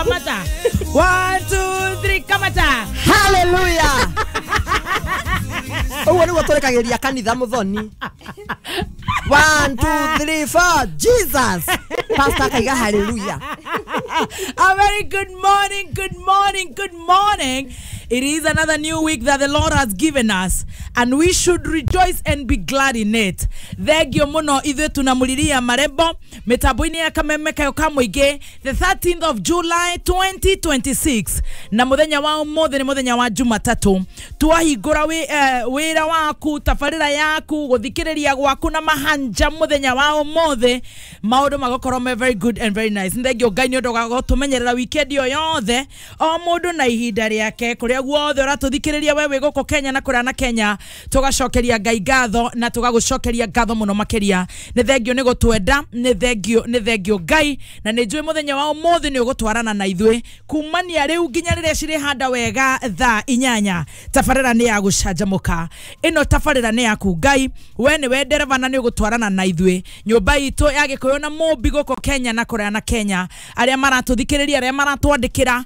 Kamata. 1 2 3 kamata. Hallelujah. Ũguo nĩguo tũrekagĩria kanitha mũthoni. 1 2 3 4 Jesus. Pastor kaiga hallelujah. A very good morning, good morning, good morning. It is another new week that the Lord has given us, and we should rejoice and be glad in it. Thengio muno ithuĩ tunamuliria marembo mitambo-inĩ ya kameme kayo ka mũingĩ, the 13th of July 2026, na muthenya wa ũmũthĩ nĩ muthenya wa Jumatatu. Twahingũra wĩra waku, tabarĩra yaku, gũthikĩrĩria gwaku na mahanja muthenya wa ũmũthĩ, maũndũ magũkorwo me very good and very nice. Thengio Ngai nĩ ũndũ wa gũtũmenyerera weekend ĩyo yothe, o mũndũ na ihinda rĩake, kũrĩa guothe ũratũthikĩrĩria we wĩ gũkũ Kenya na kũrĩa na Kenya, tũgacokeria Ngai ngatho na tũgagũcokeria ngatho mũno makĩria. Nĩ thengio nĩ gũtwenda, nĩ thengio, nĩ thengio Ngai, na nĩ njũĩ mũthenya wa ũmũthĩ nĩ ũgũtwarana na ithuĩ kumania rĩu nginya rĩrĩa cirĩhanda wega thaa 8. Tabarĩra nĩ ya gũcanjamũka, ĩno tabarĩra nĩ yaku Ngai, we nĩwe ndereba na nĩ ũgũtwarana na ithuĩ. Nyũmba itũ ya Gĩkũyũ na Mũmbi gũkũ Kenya na kũrĩa na Kenya, arĩa maratũthikĩrĩria, arĩa maratwandĩkĩra,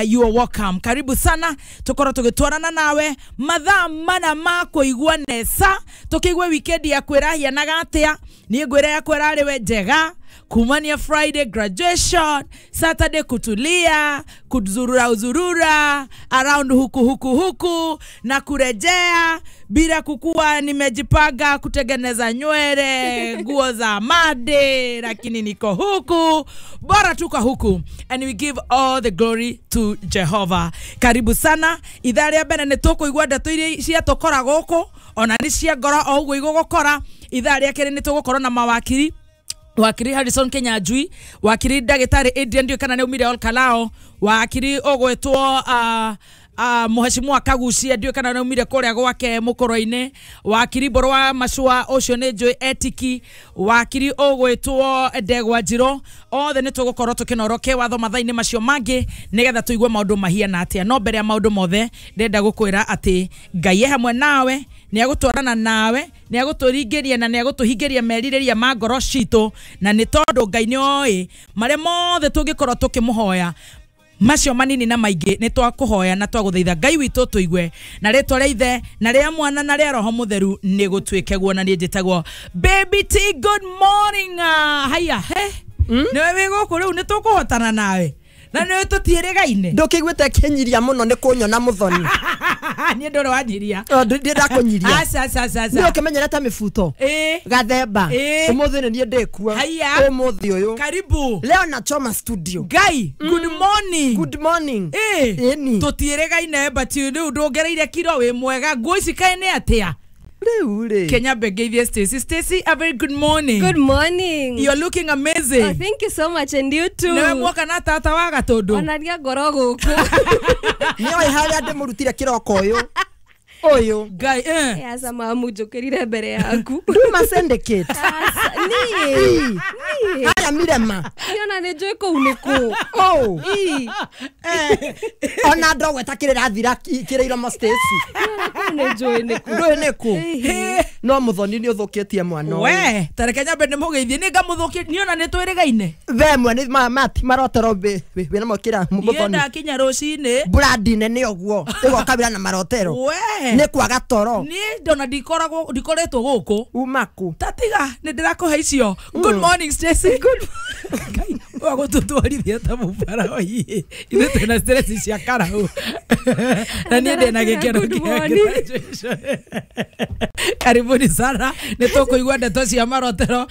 you are welcome. Karibu sana, tukorwo tũgĩtwarana nawe mathaa mana ma kũigua nesa, tũkĩigue weekend yaku ĩrahianaga atĩa. Niĩ ngwĩra yaku ĩrarĩ we njega, kumania Friday graduation, Saturday kutulia, kuzurura uzurura around huku huku huku na kurejea bila kukua nimejipanga kutengeneza nywele, nguo za made, lakini niko huku, bora tuko huku, and we give all the glory to Jehovah. Karibu sana ithaa rĩa mbere nĩ tũkũigua ndeto iria ciatũkora gũkũ, ona nĩ cia ngoro o ũguo igũgũkora. Ithaa rĩa kerĩ nĩ tũgũkorwo na mawakiri, wakiri Harrison Kenyanjui, wakiri ndagĩtarĩ Adrian ndiũĩ kana nĩ aumire Ol Kalou, wakiri ũgwĩtwo Mheshimiwa Kagucia ndiũĩ kana nĩ aumire kũrĩa gwake mũkũrũ-inĩ, wakiri Mbũrũ wa Macua ũcio nĩ njũĩ etiki, wakiri ũgwĩtwo Ndegwa Njirũ. Othe nĩ tũgũkorwo tũkĩnoroke watho mathaa-inĩ macio mangĩ nĩgetha tũigue maũndũ mahiana atĩa. No mbere ya maũndũ mothe ndĩrenda gũkwĩra atĩ Ngai e hamwe nawe, nĩ agũtwarana nawe, nĩ agũtũringĩria na nĩ agũtũhingĩria merirĩria ma ngoro citũ, na nĩ tondũ Ngai nĩ oĩ marĩa mothe tũngĩkorwo tũkĩmũhoya, macio manini na maingĩ nĩ twakũhoya na twagũthaitha Ngai witũ tũigue, na rĩtwa rĩa Ithe na rĩa Mwana na rĩa Roho Mũtheru nĩ gũtuĩke guo. Na niĩ njĩtagwo Baby T. Good morning. Haya he nĩwe wĩ gũkũ rĩu, nĩ tũkũhotana nawe na nĩwe tũtiĩrĩgaine. Ndũkĩiguĩte kĩnyiria mũno nĩ kũnyona mũthoni. Niĩ ndũrĩ wanyiria. Ndĩ ndakũnyiria. Aca aca aca aca. Nĩ ũkĩmenyerete mĩbuto gathemba. Ũmũthĩ nĩ niĩ ndĩkuo. Haya. Ũmũthĩ ũyũ. Karibu. Leo nachoma studio. Ngai, good morning. Good morning. Ĩni. Tũtiĩrĩgaine but rĩu ndũngereire kiro, wĩ mwega. Nguo ici kaĩ nĩ atĩa? Rĩu rĩ. Kenya Begeithie Stacy. Stacy, a very good morning. Good morning. You're looking amazing. Oh, thank you so much, and you too. Nĩwe muoka na tata wa Gatũndũ. Onaria ngoro gũkũ. Nĩoĩ harĩa ndĩmũrutire kĩroko ũyũ. Ũyũ. Ngai, Aca mamu njũkĩrire mbere yaku. Nduma syndicate. Aca, niĩ. Niĩ. Aya mirema. Niona nĩ njũĩ kũu nĩ kũ. Oh. Ii. Ona ndogweta kĩrĩrathira kĩrĩ iromo Stacy. Niona kũu nĩ njũĩ nĩ kũ. Ndũĩ nĩ kũ. No mũthoni nĩ ũthũkĩtie mwana ũyũ. We, tareke nyambe ndĩmũgeithie, nĩ ngamũthũkia, niĩ ona nĩ twĩrĩgaine. We mwe nĩ mati marotero wĩna mokĩra Niĩ mũthoni. ndakinya rũcinĩ. Brandi nene ũguo ĩgoka wĩra na marotero. We. Nĩ kwaga toro. Niĩ ndona ndikoretwo gũkũ. Uma kũ? Tatiga nĩ ndĩrakũhe icio. Good morning Stacy. Good. Ngai, wagũtũtwarithia ta mũbara ii. Ithuĩ twĩna stress cia karau. Na niĩ ndĩna gĩkeno Good kĩa morning. graduation. Karibuni sana, nĩ tũkũigua ndeto cia marotero.